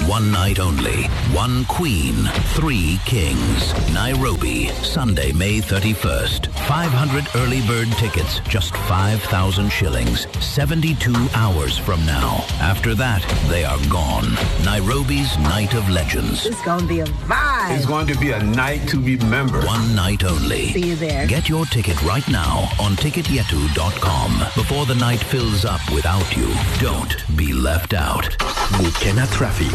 One night only. One queen, three kings. Nairobi, Sunday, May 31st. 500 early bird tickets, just 5,000 shillings. 72 hours from now. After that, they are gone. Nairobi's Night of Legends. It's going to be a vibe. It's going to be a night to remember. One night only. See you there. Get your ticket right now on ticketyetu.com before the night fills up without you. Don't be left out. Gukena traffic.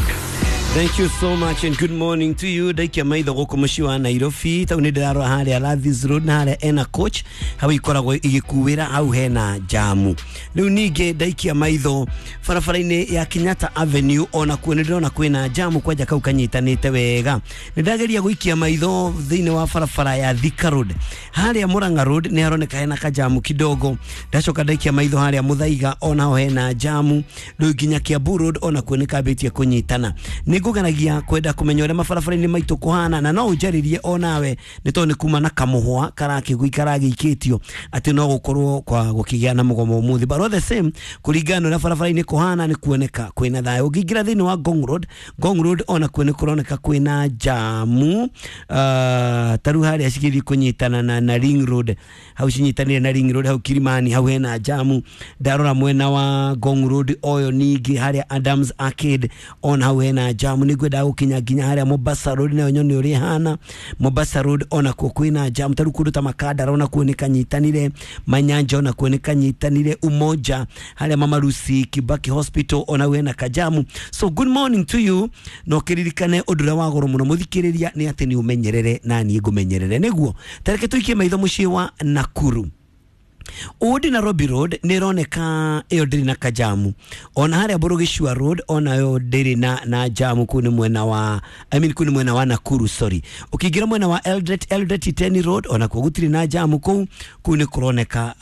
Thank you so much and good morning to you. Ndaikia maitho gũkũ mũciĩ wa Nairobi tau nĩ ndĩrarora harĩa Lathis Road na harĩa ena coach hau ikoragwo igĩkuĩra hau hena jamu. Rĩu ningĩ ndaikia maitho barabara-inĩ ya Kenyatta Avenue ona kuo nĩ ndĩrona kwĩna jamu kwanja kau kanyitanĩte wega. Nĩ ndageria gũikia maitho thĩinĩ wa barabara ya Thika Road harĩa Murang'a Road nĩ haroneka hena kajamu kidogo. Ndacoka ndaikia maitho harĩa Muthaiga onaho hena jamu. Rĩu nginya Kiambu Road ona kuo nĩ kambĩtie kũnyitana. Nĩ ngũgeragia kwenda kũmenya ũrĩa mabarabara-inĩ maitũ kũhana na no ũnjarĩrie onawe nĩ tondũ nĩ kuma na kamũhwa karagĩikĩtio atĩ no gũkorwo kwa gũkĩgĩa na mũgomo ũmũthĩ, but all the same kũringana na ũrĩa barabara-inĩ kũhana nĩ kuoneka kwĩna thayũ. Ũngĩingĩra thĩinĩ wa Ngong Road, Ngong Road ona kuo nĩ kũroneka kwĩna jamu, ta rĩu harĩa cigĩthiĩ kũnyitana na Ring Road, hau cinyitanĩire na Ring Road hau Kilimani hau hena jamu. Ndarora mwena wa Ngong Road oyo ningĩ harĩa Adams Arcade ona hau hena jamu. Nĩ ngwendaga gũkinya nginya harĩa Mombasa Road nayo nyone ũrĩa ĩhana. Mombasa Road ona kuo kwĩna jamu, ta rĩu kũndũ ta Makandara ona kuo nĩ kanyitanire, Manyanja ona kuo nĩ kanyitanire, Umoja harĩa Mama Lucy Kibaki Hospital ona hena kajamu. So good morning to you, no kĩririkane ũndũ ũrĩa wa goro mũno mũthikĩrĩria nĩ atĩ nĩ ũmenyerere na niĩ ngũmenyerere. Nĩguo tareke tũikie maitho mũciĩ wa Nakuru. Old Nairobi Road nĩ ĩroneka ĩyo ndĩrĩ na kajamu, ona harĩa Burugishua Road onayo ndĩrĩ na jamu. Kũu nĩ mwena wa I mean kũu nĩ mwena wa Nakuru, sorry. Ũkĩingĩra mwena wa Eldoret Iten Road onakuo gũtirĩ na jamu kũu, kũu nĩ kũroneka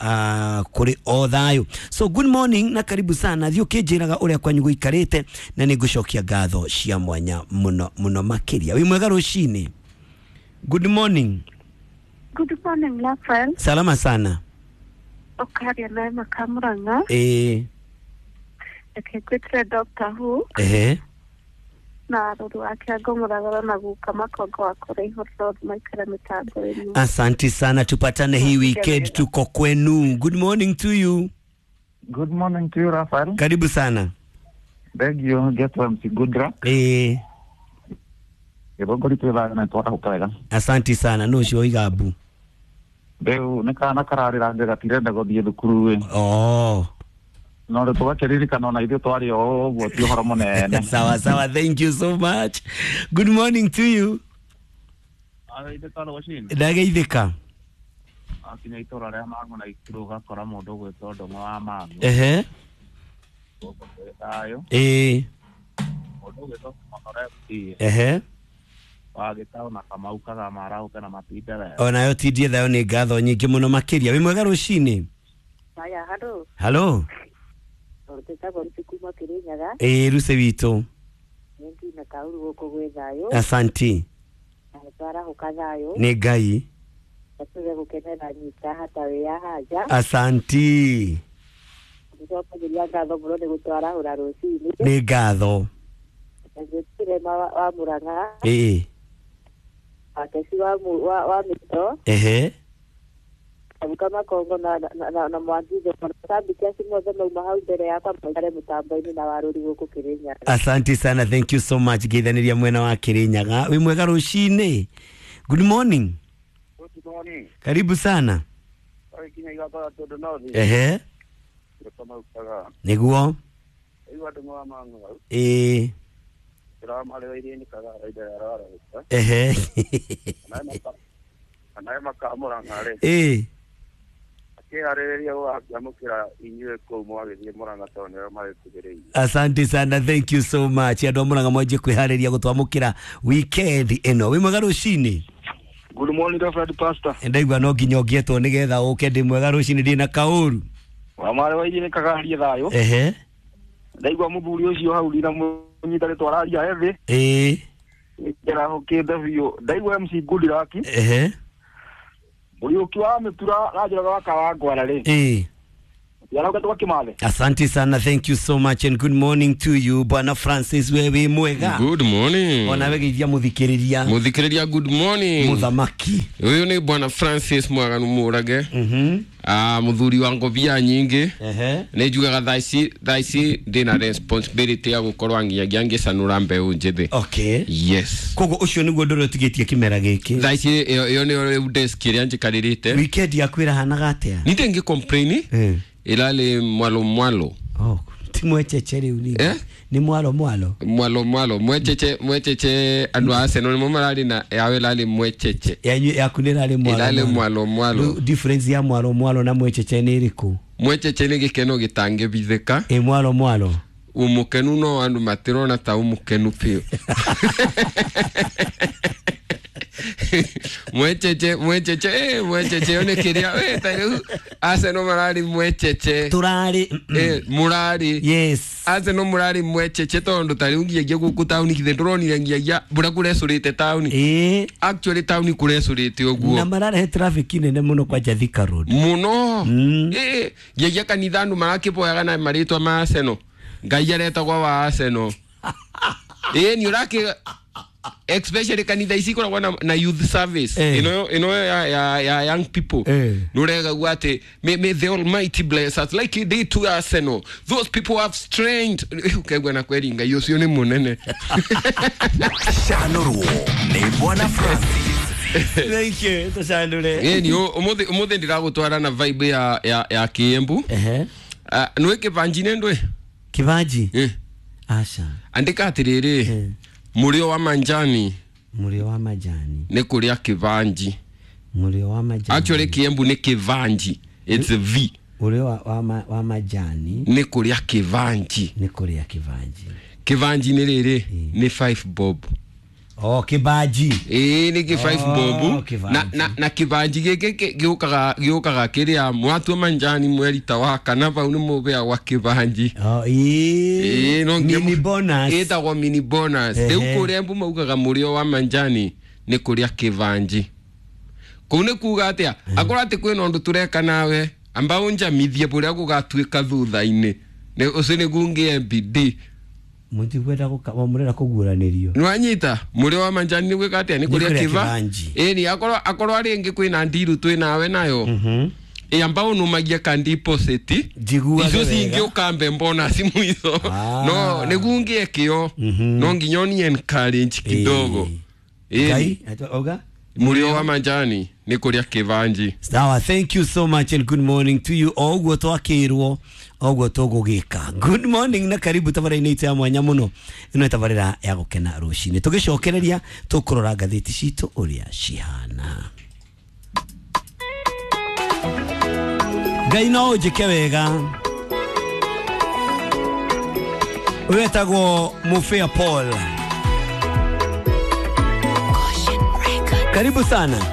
kũrĩ o thayũ. So good morning na karibu sana, thiĩ ũkĩnjĩraga ũrĩa kwanyu gũikarĩte na nĩ ngũcokia ngatho cia mwanya mũno mũno makĩria. Wĩ mwega rũcinĩ. Good morning. Good morning, Rafael. Salama sana. Okaria naye makamuranga. Reke ngwĩtĩre Dr. Who. Na rũru wake ngũmũragara na guka makongo wa kũraihu Road maikara mĩtambo ĩno. Asante sana, tupatane hii weekend, tuko kwenu. Good morning to you. Good morning to you, Rafael. Karibu sana. Beg you get MC Good Luck. Gĩthũngũri twĩ thayũ na nĩtwarahũka wega. Asante sana, no ũcio Igabu. Rĩu nĩ kana kararĩra gatirenda gũthiĩ thukuru ĩ. Oh. No rĩu tũgakĩririkana ona ithuĩ twarĩ o ũguo ti ũhoro mũnene. Sawa sawa, thank you so much. Good morning to you. Ndageithĩka. Akinya itũra rĩa Mang'u na Ikuru ũgakora mũndũ ũgwĩtwo Ndũng'ũ wa Mang'u. Gũkũ kwĩ thayũ. Mũndũ ũgwĩtwo Kĩmotho FC. Wagĩtaũ na Kamau Kagama arahũke na matinde wega. Onayo tindie thayũ, nĩ ngatho nyingĩ mũno makĩria. Wĩ mwega rũcinĩ. Haya, halo. Halo. Tũtagwo Rusi kuma Kĩrĩnyaga. Rusi witũ. Nĩ nginya kauru gũkũ gwĩ thayũ. Asanti. Na nĩtwarahũka thayũ. Nĩ Ngai. Tuge gũkenera nyita hata wĩ ya haja. Asanti. Nĩtwakagĩria ngatho mũno nĩ gũtwarahũra rũcinĩ. Nĩ ngatho. Ngwĩtĩre wa Murang'a. Wakeci wa Mĩto. Abuka Makongo na Mwangizo mashabiki acio mothe mauma hau mbere yakwa maikare mũtambo-inĩ na warũri gũkũ Kĩrĩnyaga. Asante sana, thank you so much. Ngeithanĩria mwena wa Kĩrĩnyaga. Wĩ mwega rũcinĩ. Good morning. Good morning. Karibu sana. Nĩguo. Asante sana, thank you so much. Andũ a Murang'a mwanjie kwĩharĩria gũtwamũkĩra weekend ĩno. Wĩ mwega rũcinĩ. Good morning, Reverend Pastor. Ndaigua no nginya ũngĩetwo nĩgetha ũke. Ndĩ mwega rũcinĩ, ndĩ na kaũru. Wa mwarĩ wa iria nĩ kagarie thayũ. Ndaigua mũthuri ũcio hau ndina mũnyita rĩtwa araria ethĩ. Nĩkĩrahũkĩte biũ. Ndaigua MC Good Luck. Mũriũki wa mĩtura ranjĩraga wa Kawangwara rĩ. Yarauka. Asante sana, thank you so much and good morning to you Bwana Francis, wewe mwega. Good morning. Ona wegeithia muthikiriria. Muthikiriria, good morning. Muthamaki. Uyu ni Bwana Francis Mwaganu Murage. Muthuri wa ngobia nyingi. Nĩ njugaga thaa ici ndĩna responsibility ya gũkorwo nginyagia ngĩcanũra mbeũ njĩthĩ. Okay. Yes. Koguo ũcio nĩguo ũndũ ũrĩa ũtigĩtie kĩmera gĩkĩ. Thaa ici ĩyo nĩyo rĩu desk ĩrĩa njikarĩrĩte. Weekend yaku ĩrahanaga atĩa? Nĩ ndĩngĩ complain. Ĩrarĩ mwalo mwalo. Oh, ti mwecheche rĩu ningĩ. Eh? Nĩ mwalo mwalo. Mwalo mwalo mwecheche mwecheche andũ a Arsenal nĩmo mararĩ na yawe ĩrarĩ mwecheche. Yanyu yaku nĩ ĩrarĩ mwalo. Ĩrarĩ mwalo mwalo. Rĩu difference ya mwalo mwalo na mwecheche nĩ ĩrĩkũ? Mwecheche nĩ gĩkeno gĩtangĩbithĩka. Ĩ mwalo mwalo. Umukenu no andu matirona ta umukenu piũ. Mwecheche mwecheche mwecheche one kiria ta riu Arsenal marari mwecheche turari murari. Yes, Arsenal murari mwecheche tondu ta riu ngiagia guku tauni kithe nduronire ngiagia mbura kurecurite tauni. Actually tauni kurecurite uguo na mararehe traffic nene muno kwanja Thika Road muno. Ngiagia kanitha andu marakiboyaga na maritwa ma Arsenal. Ngai aretagwa wa Arsenal. Ni uraki especially kanitha ici ikoragwo na youth service ino ya young people. Nurega ati may the Almighty bless us like he did to Arsenal. Those people have strength. Ukegwa na kweri Ngai ucio ni munene. Shanuru ni Bwana Francis. Thank you. Tushandure. Ni umuthi ndiragutwara na vibe ya Kiembu. Nwe kibanji ndwe? Kibanji? Asha. Andika atiriri. Murio wa manjani. Murio wa majani. Nĩ kũrĩa kĩbanji. Murio wa majani. Actually Kiembu nĩ kĩbanji. It's a V. Murio wa majani. Nĩ kũrĩa kĩbanji. Nĩ kũrĩa kĩbanji. Kĩbanji nĩ rĩrĩ nĩ 5 bob. Oh, kĩbanji. Nĩ kĩ 5 bob. Na kĩbanji gĩkĩ gĩũkaga kĩrĩa mwatua manjani mweri ta wa kana bau nĩ mũbeagwa kĩbanji. Oh, no mini bonus. Ĩtagwo mini bonus. Rĩu kũrĩa Embu maugaga mũrĩo wa manjani nĩ kũrĩa kĩbanji. Kũu nĩ kuga atĩa? Akorwo atĩ kwĩna ũndũ tũreka nawe amba ũnjamithie bũrĩa gũgatuĩka thutha-inĩ. Ũcio nĩguo ngĩe bidii. Mutikwenda murera kuguranĩrio. Nĩwanyita mũrĩo wa manjani nĩ gwĩka atĩa? Nĩ kũrĩa kĩbanji. Ĩni akorwo arĩ ĩngĩ kwĩna ndiru twĩ nawe nayo. Amba ũnũmagie ka deposit. Icio cingĩ ũkambe bonus mũico. No nĩguo ngĩe kĩo. No nginya ũni encourage kidogo. Ngai auga mũrĩo wa manjani nĩ kũrĩa kĩbanji. Sawa, thank you so much and good morning to you. O ũguo twakĩrwo oguo tũgũgĩka. Good morning na karibu tabarĩra-inĩ itũ ya mwanya mũno. Ĩno tabarĩra ya gũkena rũcinĩ. Tũgĩcokereria tũkũrora ngathĩti citũ ũrĩa cihana. Ngai no ũnjĩke wega. Ũyũ etagwo Mufea Paul. Karibu sana.